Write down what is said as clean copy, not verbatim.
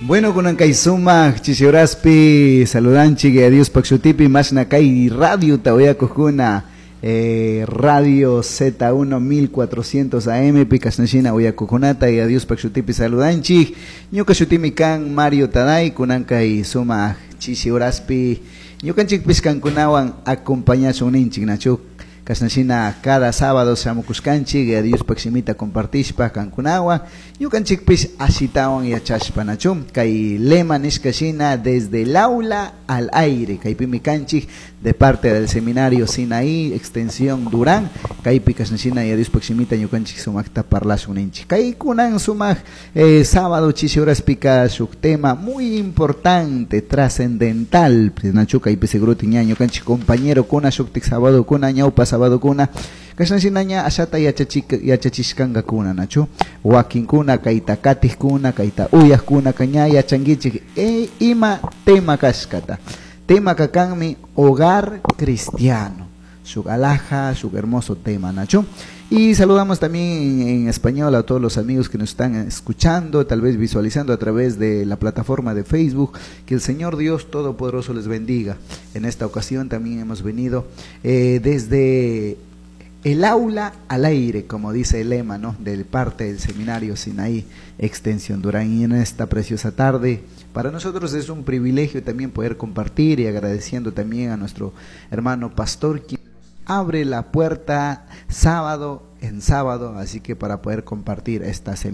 Bueno, kunan kay sumak chishi horaspi saludanchik Diospaj shutipi mashna kay radiota uyakukuna Radio Z1 1400 AM pi kashnashina uyakukunata y Diospaj shutipi saludanchik. Ñuka shutimi kan Mario Taday kunan kay sumak chishi horaspi ñukanchikpish kankunawan acompañashun ninchik nachu kashnashina cada sábado shamukushkanchik Diospaj shimita compartishpa kankunawan ñukanchikpish ashitawan yachashpa nachu kay lema nishka shina desde el aula al aire kaypimi kanchik de parte del seminario Sinaí extensión Durán kaypi kashnashina Diospaj shimita ñukanchik sumakta parlashun ninchik kay kunan sumak sábado chishi horaspika shuk tema muy importante trascendental nachu kaypi seguro ña ñukanchik compañero kuna shuktik sábado kuna ñawpa sábado kuna kashnashina ña ashata yachachishkankakuna nachu wakinkuna kayta katikkuna kayta uyakkuna ña yachankichik ima tema kashkata tema kakanmi hogar cristiano shuk alhaja shuk hermoso tema nachu. Y saludamos también en español a todos los amigos que nos están escuchando, tal vez visualizando a través de la plataforma de Facebook. Que el Señor Dios Todopoderoso les bendiga. En esta ocasión también hemos venido desde el aula al aire, como dice el lema, ¿no? Del parte del Seminario Sinaí Extensión Durán. Y en esta preciosa tarde, para nosotros es un privilegio también poder compartir y agradeciendo también a nuestro hermano pastor, quien abre la puerta sábado en sábado, así que para poder compartir esta semilla.